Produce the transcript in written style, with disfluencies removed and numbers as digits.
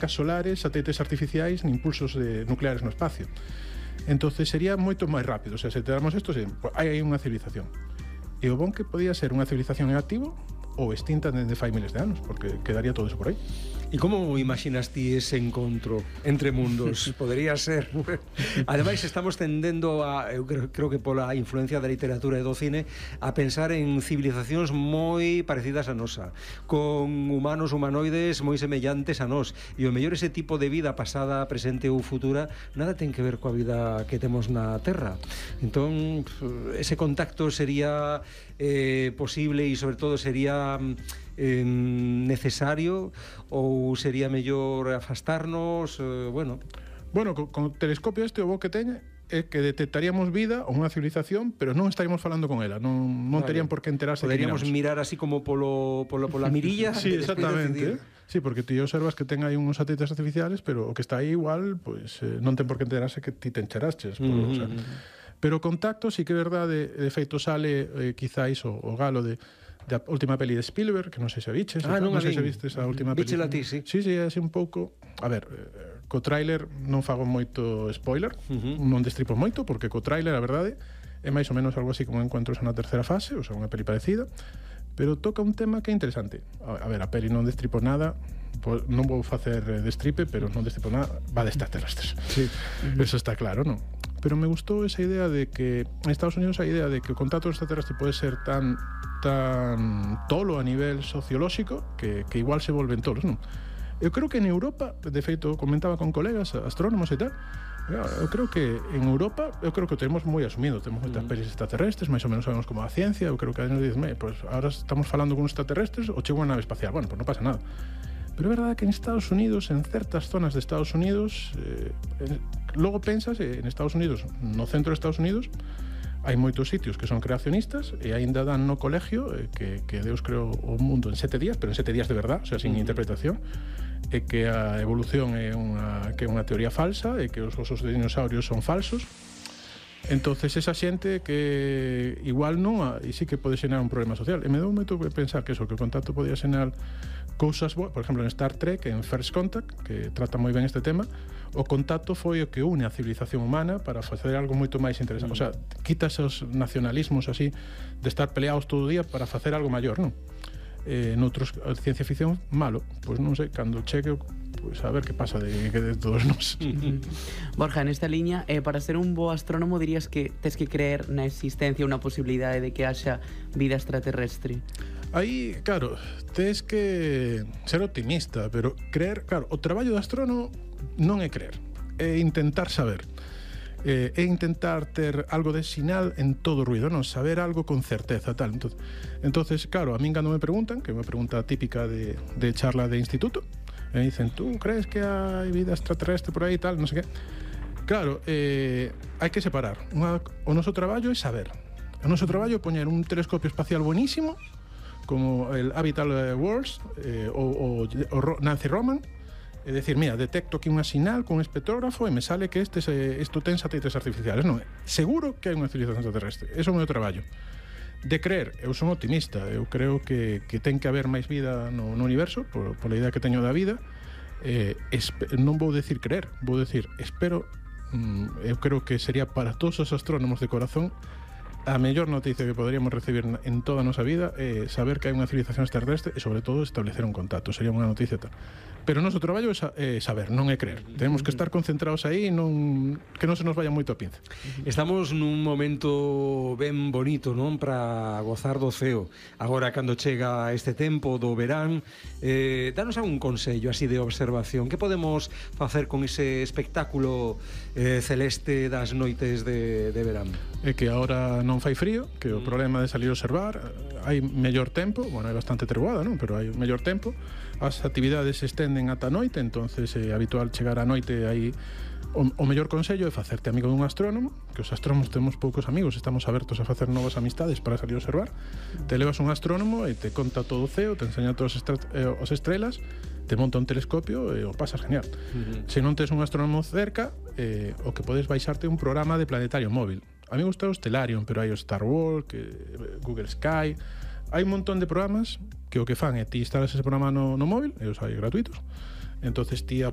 solares, satélites artificiais nin impulsos nucleares no espacio. Entonces sería moito máis rápido. O sea, se te damos isto, hai unha civilización. E o bon que podía ser unha civilización en activo ou extinta dende fai miles de anos, porque quedaría todo eso por aí. E como imaginas ti ese encontro entre mundos? Podería ser. Ademais, estamos tendendo a, eu creo que pola influencia da literatura e do cine, a pensar en civilizacións moi parecidas a nosa, con humanos humanoides moi semellantes a nós, e o mellor ese tipo de vida pasada, presente ou futura nada ten que ver coa vida que temos na Terra. Entón, ese contacto sería posible e sobre todo sería necesario, ou sería mellor afastarnos? Bueno, con o telescopio o bo que teñe é que detectaríamos vida ou unha civilización, pero non estaríamos falando con ela, non terían por que enterarse. Poderíamos mirar así como pola mirilla. Sí, exactamente. Sí, porque ti observas que ten aí uns satélites artificiales, pero o que está aí igual, pues, non ten por que enterarse que ti te encheraches. O sea, pero o contacto sí que é verdade. De feito sale quizáis o galo da última peli de Spielberg, que non sei se viches. Non sei se vistes a última peli. Víchela ti, sí. Sí, é así un pouco. A ver, co tráiler non fago moito spoiler, non destripo moito, porque co tráiler, a verdade, é máis ou menos algo así como Encuentros na terceira fase, ou sea, unha peli parecida, pero toca un tema que é interesante. A ver, a peli non destripo nada, non vou facer destripe, pero non destripo nada, va de extraterrestres. Sí. Eso está claro, non? Pero me gustou esa idea de que en Estados Unidos a idea de que o contacto extraterrestre pode ser tan tolo a nivel sociolóxico que igual se volven tolos, non? Eu creo que en Europa, de feito, comentaba con colegas astrónomos e tal, eu creo que en Europa, eu creo que o temos moi asumido, temos moitas pelis extraterrestres, máis ou menos sabemos como a ciencia, eu creo que nos dicen, pues ahora estamos falando con extraterrestres ou chega unha nave espacial, bueno, pues non pasa nada. Pero é verdade que en Estados Unidos, en certas zonas de Estados Unidos, logo pensas en Estados Unidos, no centro de Estados Unidos, hai moitos sitios que son creacionistas e aínda dan no colegio que Deus creou o mundo en 7 días, pero en 7 días de verdad, o sea, sin interpretación, e que a evolución é unha teoría falsa, e que os osos de dinosaurios son falsos. Entonces esa xente que igual non, e sí que pode xerar un problema social. E me dou moito que pensar que o contacto podía xerar cousas boas. Por exemplo, en Star Trek, en First Contact, que trata moi ben este tema, o contacto foi o que une a civilización humana para facer algo moito máis interesante. O sea, quitas os nacionalismos así de estar peleados todo o día para facer algo maior, non? Noutros, ciencia ficción, malo. Pois non sei, cando cheque, pois a ver que pasa de todos nós. Borja, nesta liña, para ser un bo astrónomo dirías que tes que creer na existencia, unha posibilidade de que haxa vida extraterrestre? Aí, claro, tes que ser optimista, pero creer, claro, o traballo do astrónomo non é creer, é intentar saber, é intentar ter algo de sinal en todo o ruido, non saber algo con certeza, tal. Entonces, claro, a min cando me preguntan, que é unha pregunta típica de charla de instituto, me dicen, tú crees que hai vida extraterrestre por aí, tal, non sei que. Claro, hai que separar. O noso traballo é saber. O noso traballo é poñer un telescopio espacial buenísimo, como el Habitat Worlds o Nancy Roman, é dicir, mira, detecto aquí unha sinal con un espectrógrafo e me sale que isto ten satélites artificiales. Non, seguro que hai unha civilización extraterrestre. Eso é o meu traballo. De creer, eu son optimista, eu creo que ten que haber máis vida no universo, pola idea que teño da vida. Non vou decir creer, vou decir espero. Eu creo que sería para todos os astrónomos de corazón a mellor noticia que poderíamos recibir en toda a nosa vida é saber que hai unha civilización extraterrestre e, sobre todo, establecer un contacto. Sería unha noticia tal. Pero o noso traballo é saber, non é creer. Tenemos que estar concentrados aí, que non se nos vaya moito a pinza. Estamos nun momento ben bonito, non? Para gozar do ceo. Agora, cando chega este tempo do verán, danos algún consello así de observación. Que podemos facer con ese espectáculo celeste das noites de verán? É que agora non fai frío, que o problema de salir a observar, hai mellor tempo, bueno, hai bastante treguada, non? Pero hai mellor tempo, as actividades se estenden ata a noite, entonces é habitual chegar a noite aí. O mellor consello é facerte amigo dun astrónomo, que os astrónomos temos poucos amigos, estamos abertos a facer novas amistades para salir a observar. Te levas un astrónomo e te conta todo o ceo, te enseña todas as estrelas, te monta un telescopio e o pasas genial. Se non tes un astrónomo cerca, o que podes baixarte un programa de planetario móvil. A mí me gusta o Stellarium, pero hai o Star Wars, Google Sky. Hai un montón de programas que o que fan é ti instalas ese programa no móvil, e os hai gratuitos. Entonces ti